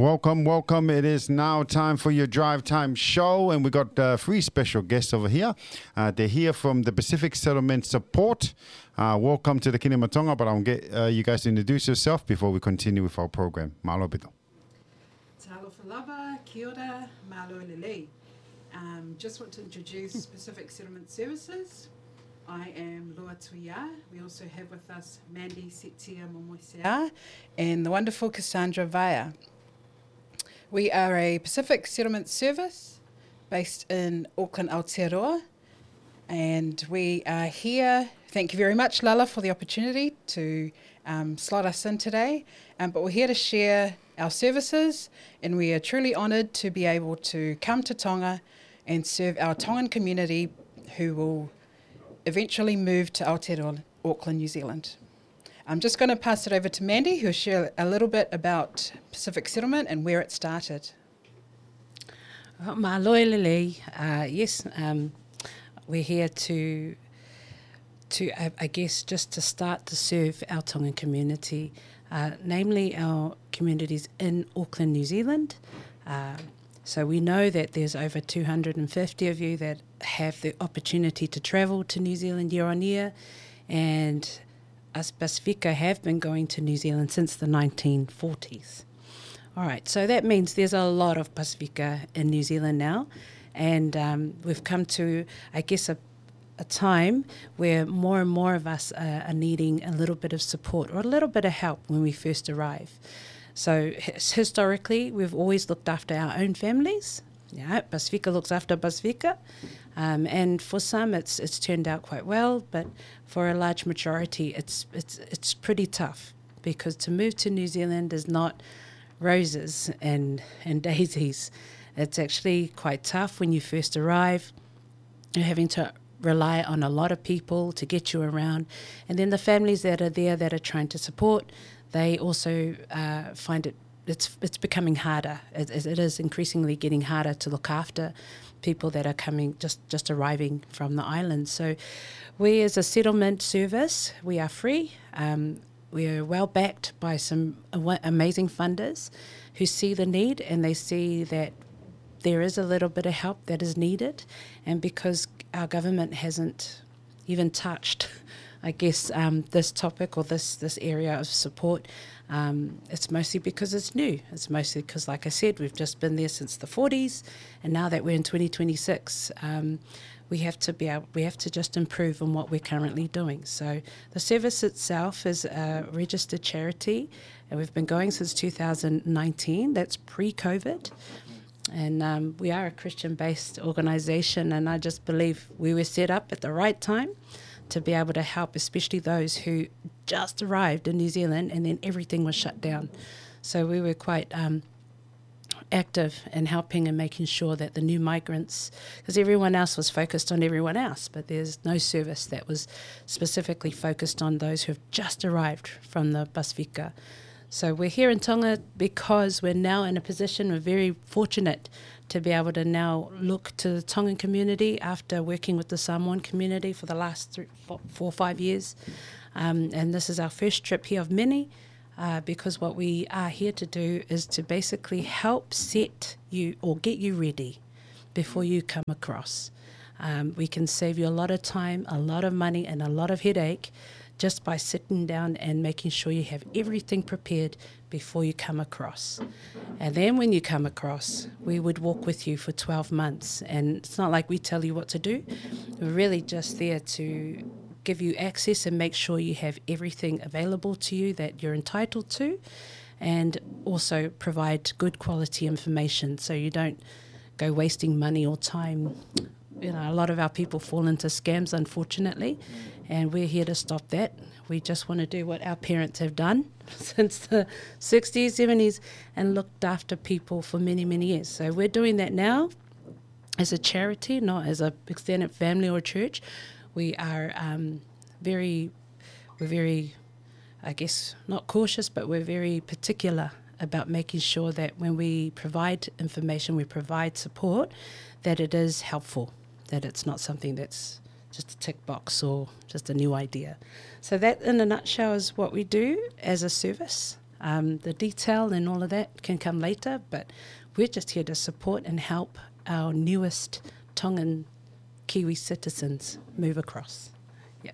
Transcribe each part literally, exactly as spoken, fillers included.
Welcome, welcome. It is now time for your Drive Time show, and we got uh, three special guests over here. Uh, they're here from the Pacific Settlement Support. Uh, welcome to the Kingdom of Tonga, but I'll get uh, you guys to introduce yourself before we continue with our program. Mālō ʻaupito. Talofa lava, kia ora, mālō e lelei. Um, just want to introduce Pacific Settlement Services. I am Loa Tuia. We also have with us Mandy Setia Momoisea and the wonderful Cassandra Vaya. We are a Pacific Settlement Service based in Auckland, Aotearoa, and we are here. Thank you very much, Lala, for the opportunity to um, slot us in today. Um, but we're here to share our services, and we are truly honoured to be able to come to Tonga and serve our Tongan community who will eventually move to Aotearoa, Auckland, New Zealand. I'm just going to pass it over to Mandy, who'll share a little bit about Pacific Settlement and where it started. Mālō e lelei. Uh, yes, um, we're here to, to I, I guess, just to start to serve our Tongan community, uh, namely our communities in Auckland, New Zealand. Uh, so we know that there's over two hundred and fifty of you that have the opportunity to travel to New Zealand year on year, and us Pasifika have been going to New Zealand since the nineteen forties. All right, so that means there's a lot of Pasifika in New Zealand now, and um, we've come to, I guess, a, a time where more and more of us are, are needing a little bit of support or a little bit of help when we first arrive. So his- historically, we've always looked after our own families. Yeah, Pasifika looks after Pasifika, um, and for some, it's it's turned out quite well. But for a large majority, it's it's it's pretty tough because to move to New Zealand is not roses and and daisies. It's actually quite tough when you first arrive. You're having to rely on a lot of people to get you around, and then the families that are there that are trying to support, they also uh, find it it's it's becoming harder. It, it is increasingly getting harder to look after people that are coming just just arriving from the islands. So, we as a settlement service, we are free. Um, we are well backed by some ama- amazing funders who see the need and they see that there is a little bit of help that is needed, and because our government hasn't even touched, I guess, um, this topic or this this area of support, um, it's mostly because it's new. It's mostly because, like I said, we've just been there since the forties, and now that we're in twenty twenty-six, um, we have to be able, we have to just improve on what we're currently doing. So the service itself is a registered charity, and we've been going since two thousand nineteen. That's pre-COVID. And um, we are a Christian based organization, and I just believe we were set up at the right time to be able to help, especially those who just arrived in New Zealand and then everything was shut down. So we were quite um, active in helping and making sure that the new migrants, because everyone else was focused on everyone else, but there's no service that was specifically focused on those who have just arrived from the Pasifika. So we're here in Tonga because we're now in a position, we're very fortunate to be able to now look to the Tongan community after working with the Samoan community for the last three, four, four, five years. Um, and this is our first trip here of many, uh, because what we are here to do is to basically help set you or get you ready before you come across. Um, we can save you a lot of time, a lot of money, and a lot of headache just by sitting down and making sure you have everything prepared before you come across. And then when you come across, we would walk with you for twelve months. And it's not like we tell you what to do. We're really just there to give you access and make sure you have everything available to you that you're entitled to, and also provide good quality information so you don't go wasting money or time. You know, a lot of our people fall into scams, unfortunately, and we're here to stop that. We just want to do what our parents have done since the sixties, seventies, and looked after people for many, many years. So we're doing that now as a charity, not as an extended family or church. We are um, very, we're very, I guess, not cautious, but we're very particular about making sure that when we provide information, we provide support, that it is helpful, that it's not something that's just a tick box or just a new idea. So that, in a nutshell, is what we do as a service. Um, the detail and all of that can come later, but we're just here to support and help our newest Tongan Kiwi citizens move across. Yeah.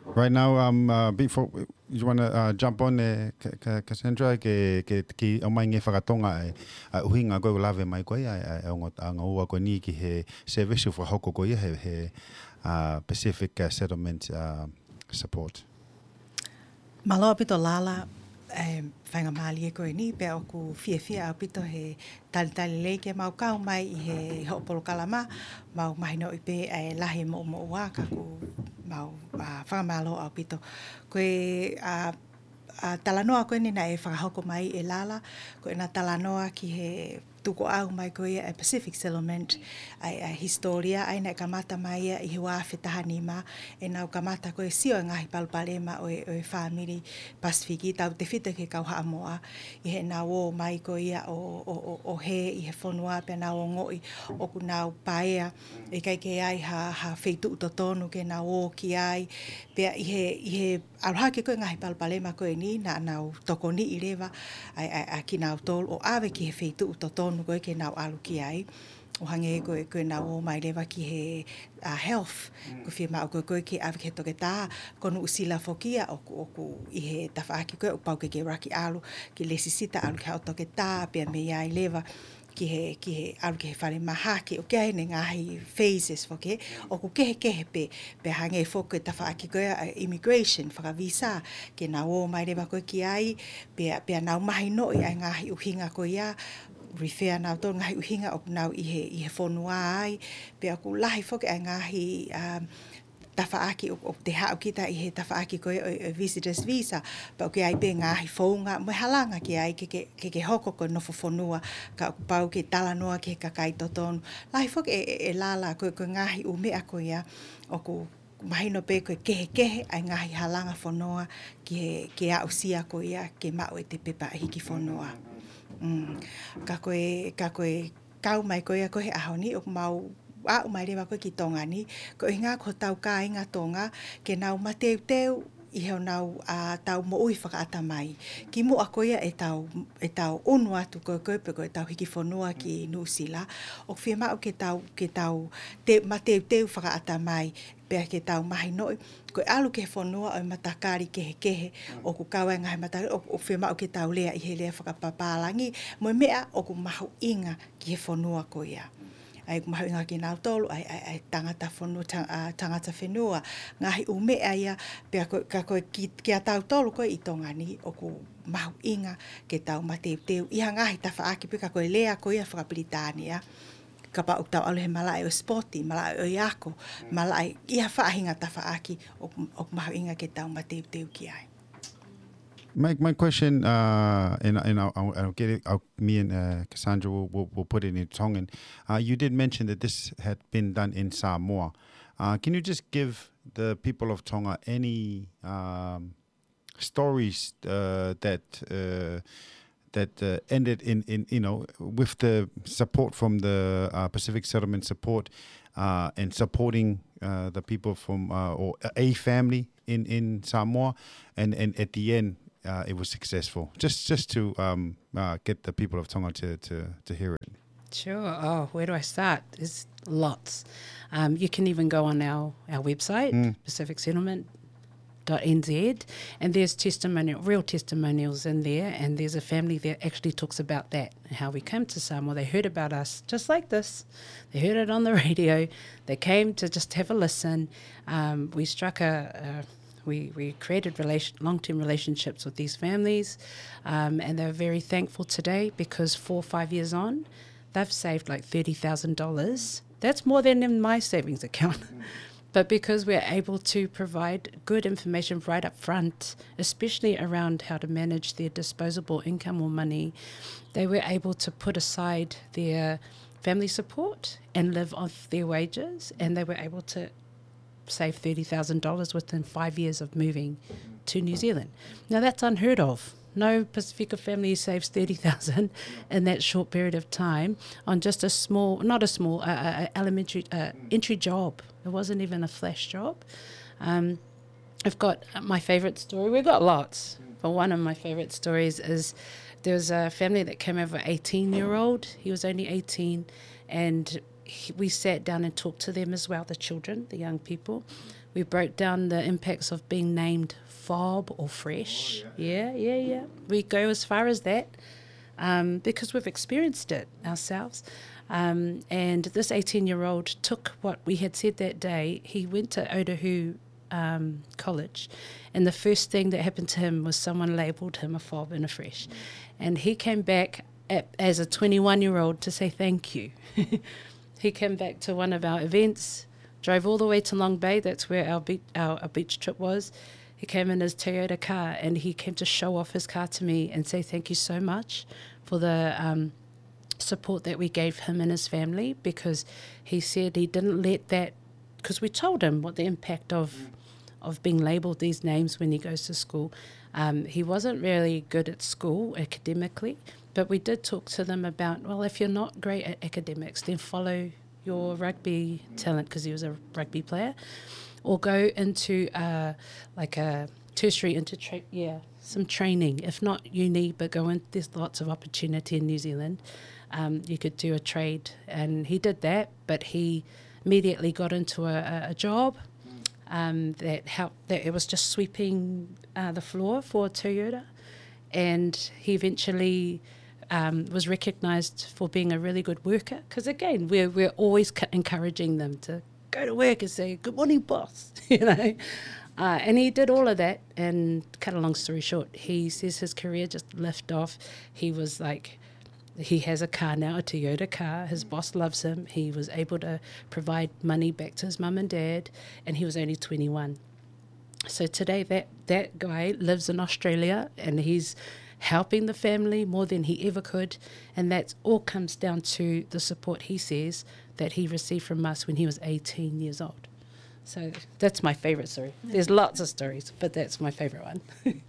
Right now, um, uh, before you want to uh, jump on, uh, Cassandra, ke ke ki ʻomai ngaahi fakatonga ai ʻa e ʻuhinga ko e lave mai ko ia ʻa e ongo anga ua ko eni ki he service fakahoko ko ia he, he uh, Pacific uh, Settlement uh, Support. Mālō ʻaupito Lala, e faingamālie ko eni pea ʻoku fiefia ʻaupito he talitali lelei ke mau kau mai ʻi he hoʻo polokalama, mau mahinoʻi pē ʻa e lahi moʻumoʻua ka ʻoku mau fakamālō ʻaupito. Ko e talanoa ko eni naʻe fakahoko mai ʻe Lala, ko ʻena talanoa ki he tukuʻau mai ko ia e Pacific Settlement, ʻa e hisitōlia ʻa ia naʻe kamata mai ia ʻi he ua afe taha nima, ʻenau kamata ko e sio e ngaahi palopalema ʻo e fāmili Pasifiki, tautefito ki he kau Haʻamoa, ʻi heʻenau ō mai ko ia ʻo hē ʻi he fonua pea nau ongoʻi ʻoku nau paea, ʻikai ke ʻi ai ha feituʻu totonu ke nau ō ki ai, pea ʻi he ʻalu hake ko e ngaahi palopalema ko eni naʻa nau tokoniʻi leva ʻa kinautolu ʻo ʻave ki he feituʻu totonu ko e ke nau ʻalu ki ai. ʻO hangē ko e nau ō mai leva ki he health, ko e fiemaʻu ko e ke ʻave ki he toketā, ko Nuʻusila foki ia ʻoku ʻi he tafaʻaki ko e ʻoku pau ke ke ʻuluaki ʻalu ki lesisita ʻalu ki haʻo toketā pea mei ai leva ki he, ki he ʻalu ki he fale mahaki, ʻoku ʻi ai ʻene ngaahi phases foki, ʻoku kehekehe pē, pea hangē foki ko e tafaʻaki ko e immigration, fakavisa, ke nau ō mai leva ko e ki ai, pea, pea nau mahinoʻi ʻa e ngaahi ʻuhinga ko ia, refer nautolu ngaahi ʻuhinga ʻoku nau ʻi he, ʻi he fonua ai, pea ʻoku lahi foki ʻa e ngaahi, um, tafaʻaki ʻoku te haʻu kita ʻi he tafaʻaki ko e ʻo e visitors visa, pea ʻoku ʻi ai pē ngaahi founga mo e halanga ki ai ke ke hoko ko e nofo fonua, ka ʻoku pau ke talanoa ki he kakai totonu. Lahi foki ʻe Lala ko e ngaahi ʻū meʻa ko ia ʻoku mahino pē ko e kehekehe ʻa e ngaahi halanga fonua ki he ke aʻusia ko ia ke maʻu ʻete pepa hiki fonua. Ka ko e, ka ko e kau mai ko ia ko he ʻaho ni ʻoku mau aʻu mai leva ko e ki Tonga ni, ko e ʻuhinga ko hotau kāinga Tonga ke nau mateuteu ʻi heʻenau tau moʻui fakaʻatamai. Kimuʻa ko ia ʻetau, ʻetau ʻunu atu ko e ko e pe ko ʻetau hiki fonua ki Nuʻusila, ʻoku fiemaʻu ke tau, ke tau mateuteu fakaʻatamai, pea ke tau mahinoʻi ko e ʻalu ki he fonua ʻo e matakali kehekehe, ʻoku kau ai ngaahi matakali, ʻoku fiemaʻu ke tau lea ʻi he lea fakapapālangi mo e meʻa ʻoku mahuʻinga ki he fonua ko ia. ʻA ia ʻoku mahuʻinga kinautolu ʻa e, ʻa e tangata fonua, tangata fenua, ngaahi ʻū meʻa ia, pea ko, ka ko e ki, kia tautolu ko e ʻi Tonga ni ʻoku mahuʻinga ke tau mateuteu ʻi ha ngaahi tafaʻaki pē ka ko e lea ko ia fakapilitānia, kapau ʻoku tau ʻalu he malaʻe ʻo e sipoti, malaʻe ʻo e ako, malaʻe ʻi ha faʻahinga tafaʻaki ʻoku, ʻoku mahuʻinga ke tau mateuteu ki ai. My, my question, uh, and, and I'll, I'll, I'll get it, I'll, me and uh, Cassandra will, will, will put it in Tongan. Uh, you did mention that this had been done in Samoa. Uh, can you just give the people of Tonga any um, stories uh, that uh, that uh, ended in, in, you know, with the support from the uh, Pacific Settlement Support uh, and supporting uh, the people from uh, or a family in, in Samoa, and, and at the end uh, it was successful. Just just to um, uh, get the people of Tonga to, to, to hear it. Sure. Oh, where do I start? There's lots. Um, you can even go on our, our website, Pacific Settlement dot N Z, and there's testimonial, real testimonials in there, and there's a family that actually talks about that, how we came to Samoa. They heard about us just like this. They heard it on the radio. They came to just have a listen. Um, we struck a, a we, we created relation, long-term relationships with these families, um, and they're very thankful today because four or five years on, they've saved like thirty thousand dollars. That's more than in my savings account. But because we're able to provide good information right up front, especially around how to manage their disposable income or money, they were able to put aside their family support and live off their wages, and they were able to save thirty thousand dollars within five years of moving to New Zealand. Now, that's unheard of. No Pasifika family saves thirty thousand in that short period of time on just a small, not a small, uh, uh, elementary, uh, entry job. It wasn't even a flash job. Um, I've got, uh, my favorite story. We've got lots, but one of my favorite stories is there was a family that came over, eighteen-year-old. He was only eighteen, and he, we sat down and talked to them as well, the children, the young people. We broke down the impacts of being named Fob or Fresh. Oh, yeah. Yeah, yeah, yeah. We go as far as that, um, because we've experienced it ourselves. Um, and this eighteen-year-old took what we had said that day. He went to Otahuhu, um, College, and the first thing that happened to him was someone labelled him a fob and a fresh. And he came back at, as a twenty-one-year-old to say thank you. He came back to one of our events, drove all the way to Long Bay. That's where our, be- our, our beach trip was. He came in his Toyota car and he came to show off his car to me and say thank you so much for the, um, support that we gave him and his family, because he said he didn't let that, because we told him what the impact of of being labelled these names when he goes to school. Um, he wasn't really good at school academically, but we did talk to them about, well, if you're not great at academics, then follow your rugby talent, because he was a rugby player, or go into, uh, like, a tertiary into tra- yeah, some training. If not uni, but go in. There's lots of opportunity in New Zealand. Um, you could do a trade, and he did that, but he immediately got into a, a, a job, um, that helped. That it was just sweeping, uh, the floor for Toyota, and he eventually, um, was recognised for being a really good worker. Because again, we're we're always c- encouraging them to go to work and say, "Good morning, boss." You know. Uh, and he did all of that, and cut a long story short, he says his career just left off. He was like, he has a car now, a Toyota car. His boss loves him. He was able to provide money back to his mum and dad, and he was only twenty-one. So today, that, that guy lives in Australia, and he's helping the family more than he ever could, and that all comes down to the support, he says, that he received from us when he was eighteen years old. So that's my favourite story. There's lots of stories, but that's my favourite one. Do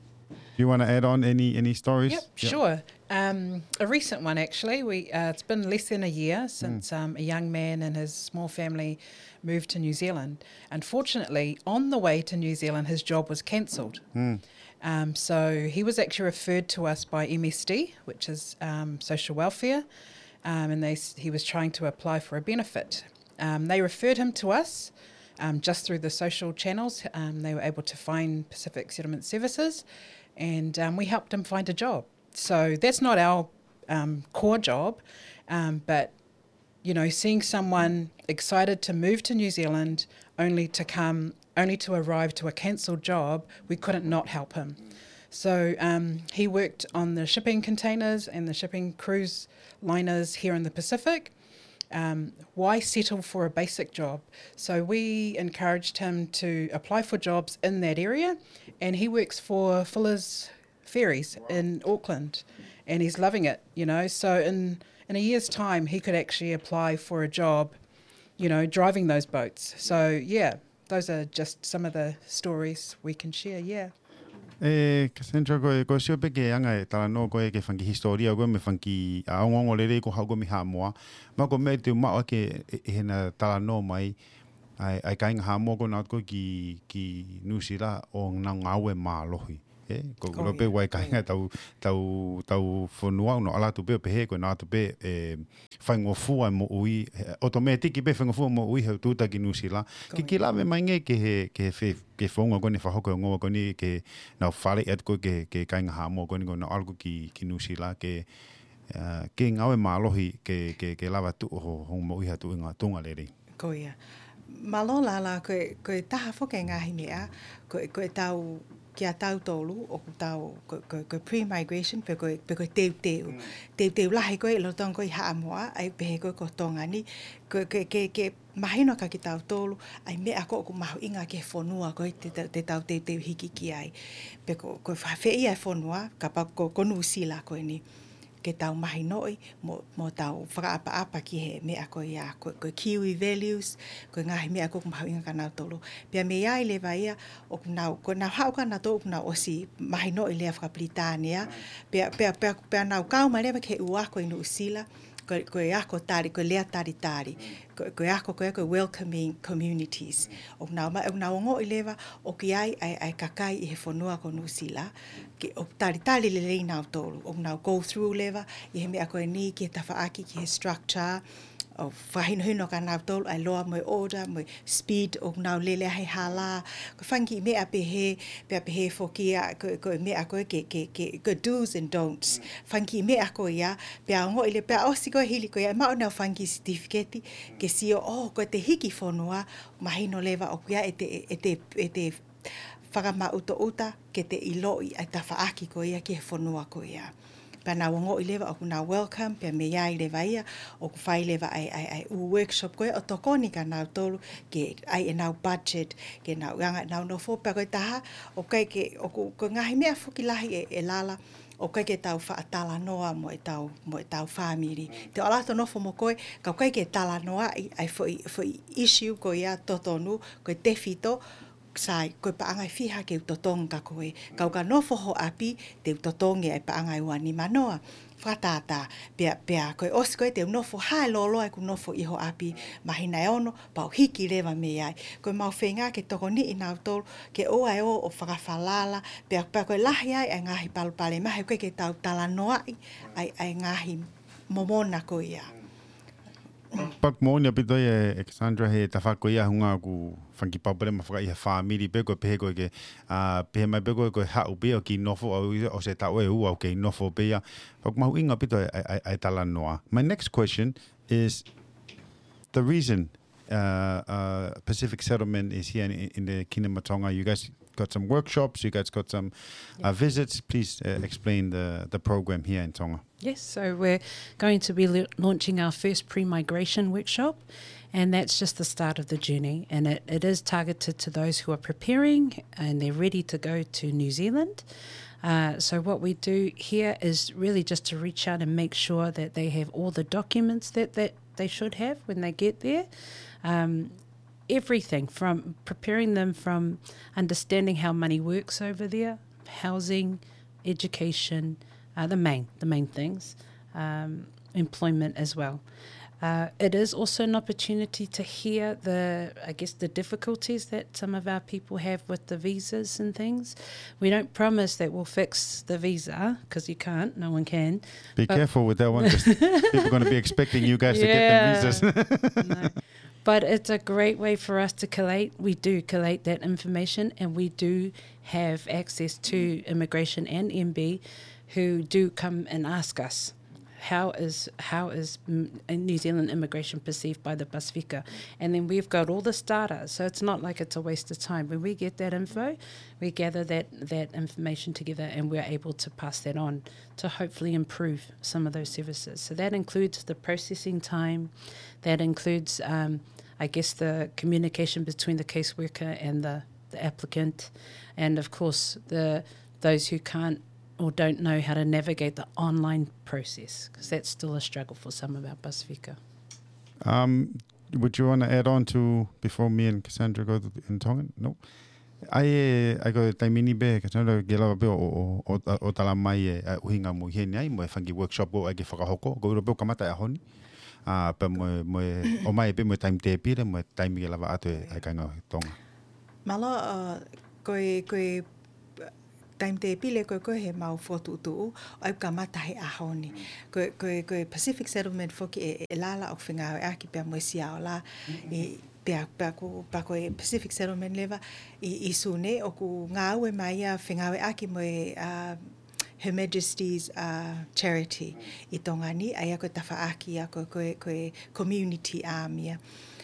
you want to add on any any stories? Yep, sure. Um, a recent one, actually. We, uh, it's been less than a year since, um, a young man and his small family moved to New Zealand. Unfortunately, on the way to New Zealand, his job was cancelled. Um, so he was actually referred to us by M S D, which is, um, social welfare, um, and they s- he was trying to apply for a benefit. Um, they referred him to us, um, just through the social channels. Um, they were able to find Pacific Settlement Services, and, um, we helped him find a job. So that's not our, um, core job, um, but, you know, seeing someone excited to move to New Zealand only to come, only to arrive to a cancelled job, we couldn't not help him. So, um, he worked on the shipping containers and the shipping cruise liners here in the Pacific. Um, why settle for a basic job? So we encouraged him to apply for jobs in that area, and he works for Fuller's Ferries in Auckland, and he's loving it, you know. So in, in a year's time, he could actually apply for a job, you know, driving those boats. So, yeah, those are just some of the stories we can share, yeah. E, Cassandra, ko e, ko e sio pē ki he anga e talanoa ko ē ki he fanga kiʻi hisitōlia ko ē mo e fanga kiʻi, a, ongoongo lelei ko ē haʻu ko ē mei Haʻamoa. Ma ko e meʻa te u maʻu ʻaki e, e, he naʻe talanoa mai ʻa e, ʻa e kāinga Haʻamoa ko ē naʻe ō ko ē ki, ki Nuʻusila ʻo nau ngāue mālohi. E, ko, ko e ʻilo pē ʻoku ʻi ai e kāinga tau, tau, tau fonua ʻoku nau ʻalu atu pē ʻo pehē ko ē naʻe ō atu pē, e, faingofua e moʻui, he, ʻotomētiki pē faingofua e moʻui he ʻoku tūʻuta ki Nuʻusila. Ke ke lave mai angē ki he, ki he fe-, ki he founga ko eni, fakahoko e ongoongo ko eni, ke nau faleʻi atu ko ē ki he, ki he kāinga Haʻamoa ko eni ʻoku nau ʻalu ko ē ki, ki Nuʻusila, ke, a, ke ngāue mālohi, ke, ke, ke lava tuʻu ho, hoʻo moʻui ha tuʻunga, tuʻunga lelei. Ko ia. Mālō Lala, ko e, ko e taha foki e ngaahi meʻa, ko e, ko e tau, kia tautolu, ʻoku tau, ko, ko, ko e pre-migration, pe ko e, pe ko e teuteu. Mm. Teuteu lahi ko ē ʻi loto ko ē ʻi Haʻamoa, ʻa ia pehē ko ē ko Tonga ni, ko, ke, ke, ke mahino kia kitautolu, ʻa e meʻa ko ē ʻoku mahuʻinga ki he fonua ko ē te, te, te tau teuteu hiki ki ai. Pe ko, ko e fēfē ia e fonua, kapau ko, ko Nuʻusila ko eni. Ke tau mahinoʻi, mo, mo tau fakaʻapaʻapa ki he meʻa ko ia, ko, ko e Kiwi values, ko e ngaahi meʻa ko ē ʻoku mahuʻinga kia nautolu. Pea mei ai leva ia, ʻoku nau, ko ʻenau haʻu kia nautolu ʻoku nau ʻosi mahinoʻi e lea faka-Pilitānia, pea, pea, pea, pea nau kau mai leva ki he ua ko ē ʻi Nuʻusila, Ko, ko e ako tali, ko e lea talitali. Ko, ko e ako ko e, ko e welcoming communities. ʻOku nau ma-, ʻoku nau ongoʻi leva ʻoku ʻi ai ʻa e, ʻa e kakai ʻi he fonua ko Nuʻusila ke ʻoku talitali lelei nautolu. ʻOku nau go through leva ʻi he meʻa ko eni ki he tafaʻaki, ki he structure, ʻo fakahinohino kia nautolu ʻa e law mo e order, mo e speed ʻoku nau lele ai he hala. Ko e fanga kiʻi meʻa pehē, pea pehē foki ia, ko, ko e meʻa ko e ke, ke, ke, ko e do's and don'ts. Fanga kiʻi meʻa ko ia, pea ongoʻi leva, pea ʻosi ko e hili ko ia, ʻe maʻu ʻenau fanga kiʻi certificate, ke sio, ʻo, ko ʻete hiki fonua, mahino leva ʻoku ʻi ai ʻete, ʻete, ʻete fakamaʻutoʻuta ke te ʻiloʻi ʻa e tafaʻaki ko ia ki he fonua ko ia. Pea nau ongoʻi leva ʻoku nau welcome, pea mei ai leva ia, ʻoku fai leva ʻa e, ʻa e, ʻa e ʻū workshop ko ia ʻo tokoni kia nautolu ke ʻai ʻenau budget, ke nau anga ʻenau nofo, pea ko e taha, ʻoku ʻikai ke, ʻoku, ko e ngaahi meʻa foki lahi ʻe, ʻe Lala, ʻoku ʻikai ke tau faʻa talanoa mo ʻetau, mo ʻetau fāmili. Te u ʻalu atu ʻo nofo mo koe, ka ʻoku ʻikai ke talanoaʻi ʻa e foʻi, foʻi issue ko ia totonu, ko e tefito, sai, ko e paʻanga ʻe fiha ke u totongi kia koe. Ka u ka nofo ho ʻapi, te u totongi ʻa e paʻanga ʻe ua nima noa. Fakatātā, pea, pea ko e ʻosi ko ē te u nofo hā e lōloa ʻeku nofo ʻi ho ʻapi, māhina ʻe ono, pea u hiki leva mei ai. Ko ʻemau feinga ke tokoniʻi nautolu, ke ʻoua ʻe ō ʻo fakafalala, pea, pea ko e lahi ai ʻa e ngaahi palopalema, he ʻoku ʻikai ke tau talanoaʻi ʻa e, ʻa e ngaahi momona ko ia. Pea ʻoku moʻoni ʻaupito ia ʻe Cassandra he tafaʻaki ko ia, hangē ko e fanga kiʻi palopalema fakaʻi he fāmili pe ko e pehē ko e ke, ʻa, pehē mai pe ko e, ko e haʻu pē ʻo kiʻi nofo, ʻa, ʻosi e taʻu ʻe ua ʻoku kei nofo pē ia. Pea ʻoku mahuʻinga ʻaupito e, e, e, e talanoa. My next question is the reason, uh, uh, Pacific Settlement is here in, in the Kingdom of Tonga. You guys got some workshops, you guys got some, uh, visits. Please, uh, explain the, the program here in Tonga. Yes, so we're going to be la-, launching our first pre-migration workshop, and that's just the start of the journey. And it, it is targeted to those who are preparing and they're ready to go to New Zealand. Uh, so what we do here is really just to reach out and make sure that they have all the documents that, that they should have when they get there. Um, everything from preparing them from understanding how money works over there, housing, education, uh, the main, the main things, um, employment as well. Uh, it is also an opportunity to hear the, I guess, the difficulties that some of our people have with the visas and things. We don't promise that we'll fix the visa, 'cause you can't, no one can. Be careful with that one, 'cause people are gonna be expecting you guys to get the visas. No. But it's a great way for us to collate. We do collate that information, and we do have access to immigration and M B who do come and ask us, "How is, how is, mm, New Zealand immigration perceived by the Pasifika?" And then we've got all this data, so it's not like it's a waste of time. When we get that info, we gather that, that information together, and we're able to pass that on to hopefully improve some of those services. So that includes the processing time, that includes, um, I guess, the communication between the caseworker and the, the applicant, and of course, the, those who can't or don't know how to navigate the online process, 'cause that's still a struggle for some of our Pasifika. Um, would you wanna add on to, before me and Cassandra go to, in Tongan? No? ʻAi, ʻai ko e taimi ni pē, Cassandra, ke lava pē ʻo, ʻo, ʻo, ʻo, ʻo tala mai e, ʻa e ʻuhinga mo ʻi heni ai, mo e fanga kiʻi workshop ko ē ʻoku ʻai ke fakahoko, ko e ʻilo pē ʻoku kamata e ʻaho ni. ʻA, pea mo e, mo e, ʻomai pē mo e taimi tēpile, mo e taimi ke lava atu e, ʻa e kāinga ʻo Tonga. Mālō, ʻa, ko e, ko e, taimi tēpile ko ē, ko ē heʻemau fokotuʻutuʻu, ʻoku kamata he ʻaho ni. Ko e, ko e, ko e Pacific Settlement foki ʻe, ʻe Lala ʻoku fengāueʻaki pea mo e Siaola. ʻI, pea, pea ko, pea ko e Pacific Settlement leva ʻi, ʻi Sune ʻoku ngāue mai ia fengāueʻaki mo e, ʻa, Her Majesty's, ʻa, Charity ʻi Tonga ni, ʻa ia ko e tafaʻaki ia ko, ko e, ko e community arm ia.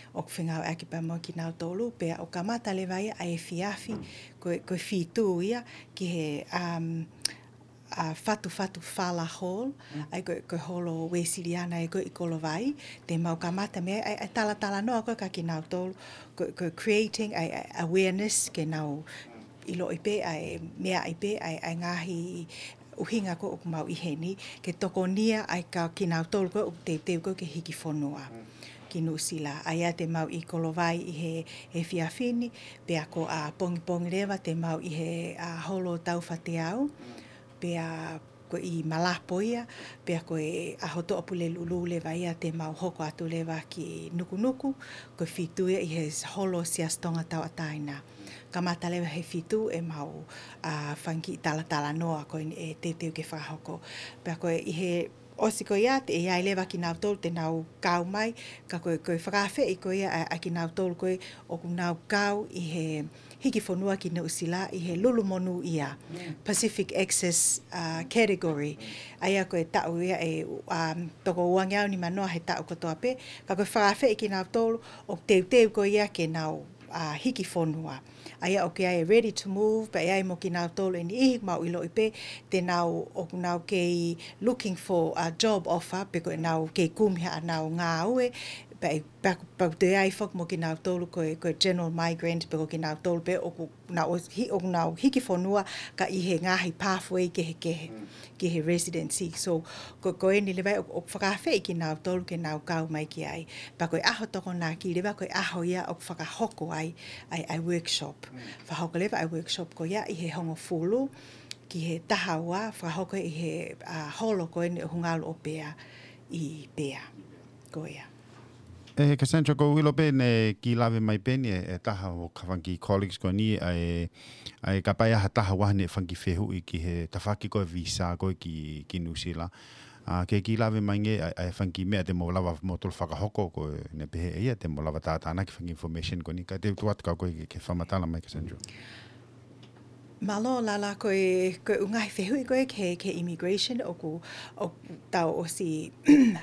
ʻOku fengāueʻaki pea mo kinautolu, pea ʻoku kamata leva ia ʻa e efiafi, ko e, ko e fitu ia, ki he, um, ʻa, Fatufatu Fala Hall, ʻa ia ko e, ko e holo Uēsiliana ia ko ē ʻi Kolovai, te mau kamata mei ai ʻa e, ʻa e talatalanoa ko ē kia kinautolu, ko e, ko e creating ʻa e, ʻa e awareness ke nau ʻiloʻi pē ʻa e meʻa ʻi pē ʻa e, ʻa e ngaahi ʻuhinga ko ē ʻoku mau ʻi heni, ke tokonia ai kia kinautolu ko ē ʻoku teuteu ko ē ke hiki fonua ki Nuʻusila. ʻA ia te mau ʻi Kolovai ʻi he, he efiafi ni, pea ko ʻapongipongi leva te mau ʻi he, ʻa, holo Taufateau, pea ko ʻi Malapo ia, pea ko e ʻaho Toʻapulelulu leva ia te mau hoko atu leva ki Nukunuku, ko e fitu ia ʻi he holo Siasi Tonga Tauʻatāina. Kamata leva he fitu ʻemau, ā, fanga kiʻi talatalanoa ko eni ʻe teuteu ke fakahoko. Pea ko e ʻi he ʻosi ko ia te ʻi ai leva kinautolu te nau kau mai, ka ko e, ko e fakaafeʻi ko ia ʻa, ʻa kinautolu ko ē ʻoku nau kau ʻi he hiki fonua ki Nuʻusila ʻi he lulu monūʻia, Pacific Access, ā, category. ʻA ia ko e taʻu ia ʻe, ā, toko uangeau nimanoa he taʻu kotoa pē, ka ko e fakaafeʻi kinautolu ʻoku teuteu ko ia ke nau, ā, hiki fonua. ʻA ia ʻoku ʻi ai e ready to move, pea ʻi ai mo kinautolu ʻe niʻihi mau ʻiloʻi pē te nau, ʻoku nau kei looking for a job offer, pe ko ʻenau kei kumi haʻanau ngāue, pea ʻi, pea ʻoku, pea ʻoku toe ʻi ai foki mo kinautolu ko e, ko e general migrant, pe ko kinautolu pē ʻoku nau ʻosi hi-, ʻoku nau hiki fonua ka ʻi he ngaahi pathway kehekehe ki he residency. So, ko, ko eni leva ʻoku, ʻoku fakaafeʻi kinautolu ke nau kau mai ki ai. Pea ko e ʻaho Tokonaki leva ko e ʻaho ia ʻoku fakahoko ai, ʻa e, ʻa e workshop. Fakahoko leva ʻa e workshop ko ia ʻi he hongofulu ki he taha ua, fakahoko ʻi he, ā, holo ko eni ʻo Hungalu ʻo Pea ʻi Pea. Ko ia. ʻE, Cassandra, ʻoku ou ʻilo pē naʻe kiʻi lave mai pē eni ʻe, ʻe taha ʻo e fanga kiʻi colleagues ko eni, ʻa e, ʻa e kapau ʻe ʻi ai ha taha ʻoku ʻi ai haʻane fanga kiʻi fehuʻi ki he tafaʻaki ko e visa ko ē ki, ki Nuʻusila. Ā, ke kiʻi lave mai ange ʻa e, ʻa e fanga kiʻi meʻa te mou lava moutolu fakahoko ko ē, naʻe pehē ʻe ia te mou lava tātānaki fanga kiʻi information ko eni, ka te u tuku atu kia koe ke, ke fakamatala mai, Cassandra. Mālō Lala, ko e, ko e ʻū ngaahi fehuʻi ko ē ki he, ki he immigration ʻoku, ʻoku tau ʻosi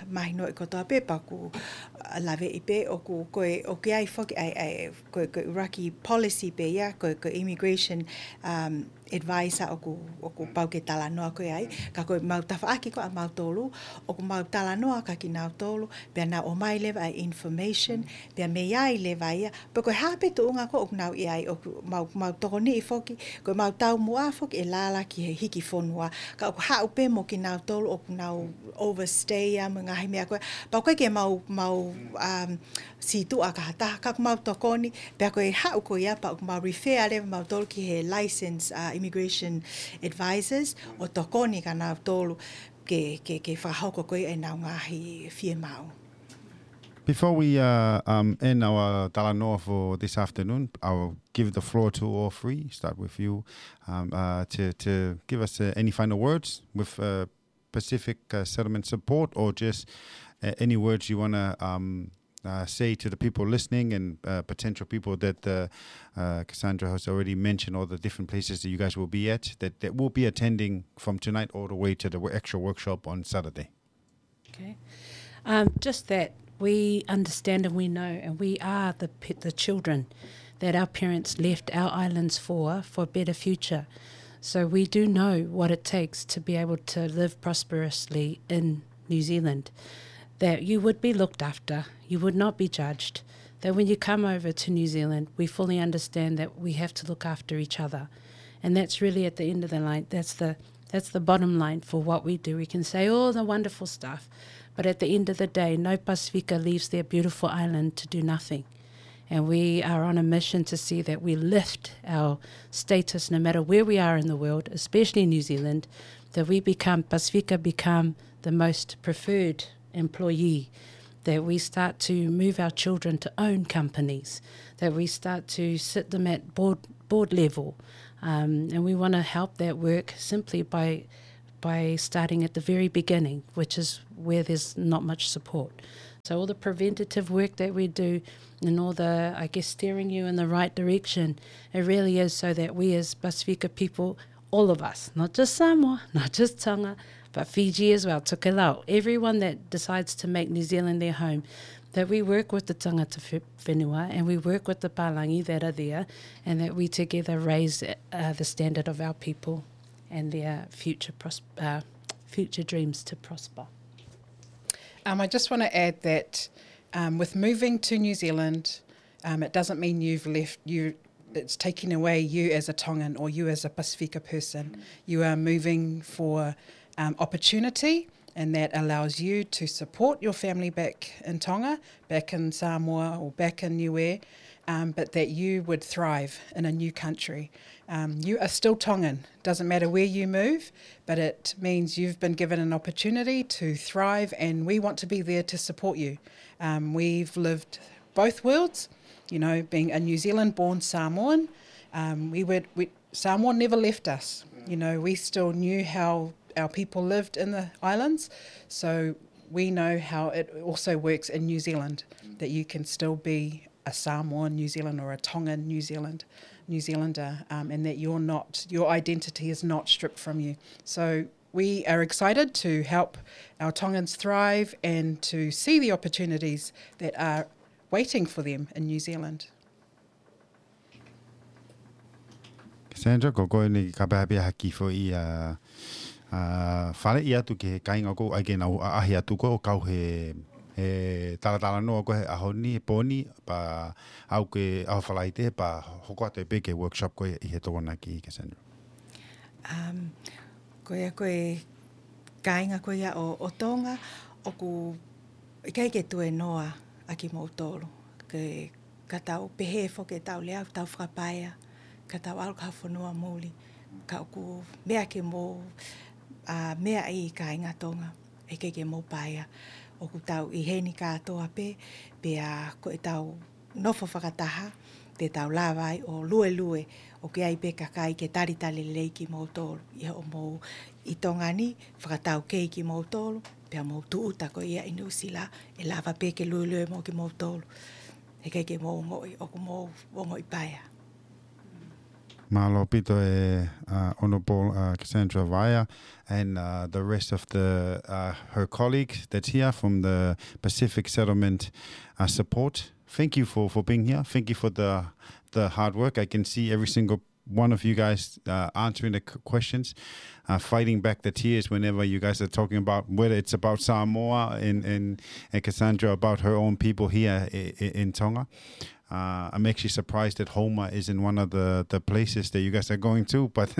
mahinoʻi kotoa pē pea ʻoku, ā, laveʻi pē ʻoku, ko e, ʻoku ʻi ai foki ʻa e, ʻa e, ko e, ko e ʻuluaki policy pē ia, ko e, ko e immigration, um, advisor ʻoku, ʻoku pau ke talanoa ko ē ai, ka ko e mau tafaʻaki ko ē ʻa mautolu, ʻoku mau talanoa kia kinautolu, pea nau ʻomai leva ʻa e information, pea mei ai leva ia, pea ko e hā pē tuʻunga ko ē ʻoku nau ʻi ai, ʻoku mau, mau tokoniʻi foki, ko e mau taumuʻa foki ʻe Lala ki he hiki fonua, ka ʻoku haʻu pē mo kinautolu ʻoku nau overstay ia mo e ngaahi meʻa ko ē, pea ʻoku ʻikai ke mau, mau, um, sītuʻa ki ha taha, ka ʻoku mau tokoni, pea ko e haʻu ko ia pea ʻoku mau refer leva mautolu ki he license, ā, immigration advisors, ʻo tokoni kia nautolu ke, ke, ke fakahoko ko ē ʻenau ngaahi fiemaʻu. Before we, uh, um, end our talanoa for this afternoon, I'll give the floor to all three, start with you, um, uh, to, to give us, uh, any final words with, uh, Pacific, uh, Settlement Support, or just, uh, any words you wanna, um, uh, say to the people listening and, uh, potential people that, uh, uh, Cassandra has already mentioned, all the different places that you guys will be at, that, that will be attending from tonight all the way to the wo-, actual workshop on Saturday. Okay. Um, just that we understand and we know and we are the pe-, the children that our parents left our islands for, for a better future. So we do know what it takes to be able to live prosperously in New Zealand. That you would be looked after, you would not be judged. That when you come over to New Zealand, we fully understand that we have to look after each other. And that's really at the end of the line, that's the, that's the bottom line for what we do. We can say all the wonderful stuff, but at the end of the day, no Pasifika leaves their beautiful island to do nothing. And we are on a mission to see that we lift our status no matter where we are in the world, especially New Zealand, that we become, Pasifika become the most preferred employee, that we start to move our children to own companies, that we start to sit them at board, board level. Um, and we wanna help that work simply by, by starting at the very beginning, which is where there's not much support. So all the preventative work that we do and all the, I guess, steering you in the right direction, it really is so that we as Pasifika people, all of us, not just Samoa, not just Tonga, but Fiji as well, Tokelau, everyone that decides to make New Zealand their home, that we work with the tangata whe-, whenua and we work with the pālangi that are there, and that we together raise, uh, the standard of our people and their future pros-, uh, future dreams to prosper. Um, I just wanna add that, um, with moving to New Zealand, um, it doesn't mean you've left, you, it's taking away you as a Tongan or you as a Pasifika person. You are moving for, um, opportunity, and that allows you to support your family back in Tonga, back in Samoa, or back in Niue, um, but that you would thrive in a new country. Um, you are still Tongan. Doesn't matter where you move, but it means you've been given an opportunity to thrive, and we want to be there to support you. Um, we've lived both worlds, you know, being a New Zealand-born Samoan. Um, we were, we, Samoa never left us. You know, we still knew how our people lived in the islands, so we know how it also works in New Zealand, that you can still be a Samoan New Zealand or a Tongan New Zealand, New Zealander, um, and that you're not, your identity is not stripped from you. So we are excited to help our Tongans thrive and to see the opportunities that are waiting for them in New Zealand. Cassandra, ko koe eni ka pehē pē ha kiʻi foʻi, ʻa, ʻa, faleʻi atu ki he kāinga ʻoku ʻai ke nau ʻaʻahi atu ko ē ʻo kau he, he talatalanoa ko ē he ʻaho ni, he pō ni, pea aʻu ki he ʻaho Falaite, pea hoko atu pē ki he workshop ko ē ʻi he Tokonaki, Cassandra. Um, ko ia ko e kāinga ko ia ʻo, ʻo Tonga, ʻoku ʻikai ke tuēnoa ʻa kimoutolu. Ke, ka tau pehē foki ʻetau lea, tau fakapaea, ka tau ʻalu ki ha fonua muli. Ka ʻoku meʻa ke mou, ʻa, meaʻi kāinga Tonga, ʻikai ke mou paea. ʻOku tau ʻi heni kātoa pē, pea ko ʻetau nofo fakataha, te tau lava ai ʻo luelue, ʻoku ʻi ai pē kakai ke talitali lelei kimoutolu. ʻI hoʻomou ʻi Tonga ni, fakataukei kimoutolu, pea mou tūʻuta ko ia ʻi Nuʻusila, ʻe lava pē ke luelue mo kimoutolu. He ʻikai ke mou ongoʻi, ʻoku mou ongoʻi paea. Mālō ʻaupito e, uh, Honourable, uh, Cassandra Vaea and, uh, the rest of the, uh, her colleagues that's here from the Pacific Settlement, uh, Support. Thank you for, for being here. Thank you for the, the hard work. I can see every single one of you guys, uh, answering the q-, questions, uh, fighting back the tears whenever you guys are talking about whether it's about Samoa and, and, and Cassandra about her own people here i-, i-, in Tonga. Uh, I'm actually surprised that Houma isn't one of the, the places that you guys are going to, but,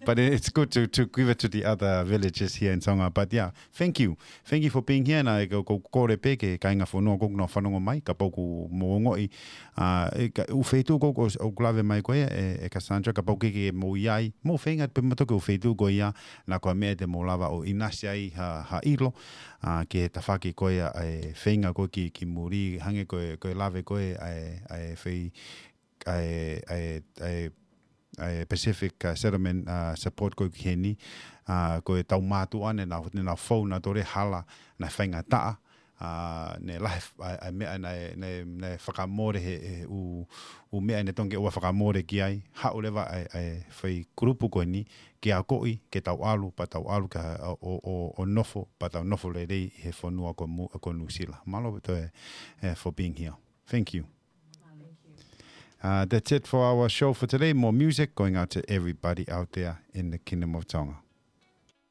but it's good to, to give it to the other villages here in Tonga. But yeah, thank you. Thank you for being here. Na e ko, ko, kole pē ki he kāinga fonua ʻoku nau fanongo mai, kapau ʻoku mou ongoʻi, ʻa, e ka, ʻū feituʻu ko, ko, ʻoku lave mai ko ia e, e Cassandra, kapau ʻoku ʻikai ke mou ʻi ai, mou feinga pē mo toki ʻū feituʻu ko ia, na ko e meʻa te mou lava ʻo ʻinasi ai ha, ha ʻilo, ʻa, ki he tafaʻaki ko ia e feinga ko ē ki, ki muli, hangē ko e, ko e lave ko ē ʻa e, ʻa e fei, ʻa e, ʻa e, ʻa e, ʻa e Pacific, uh, Settlement, uh, Support ko ē ki heni, uh, ko e tau mātuʻa ne nau, ne nau fou nautolu he hala naʻe faingataʻa, uh, ne lahi f-, ʻa e, ʻa e meʻa naʻe, naʻe, naʻe fakamole he, he ʻū, ʻū meʻa ne tonge ua fakamole ki ai, haʻu leva ʻa e, ʻa e fai kulupu ko eni, ke akoʻi, ke tau ʻalu, pea tau ʻalu ka, ʻo, ʻo, ʻo, ʻo nofo, pea tau nofo lelei he fonua ko Mu-, ko Nuʻusila. Mālō ʻaupito e, e, for being here. Thank you. Uh, that's it for our show for today. More music going out to everybody out there in the Kingdom of Tonga.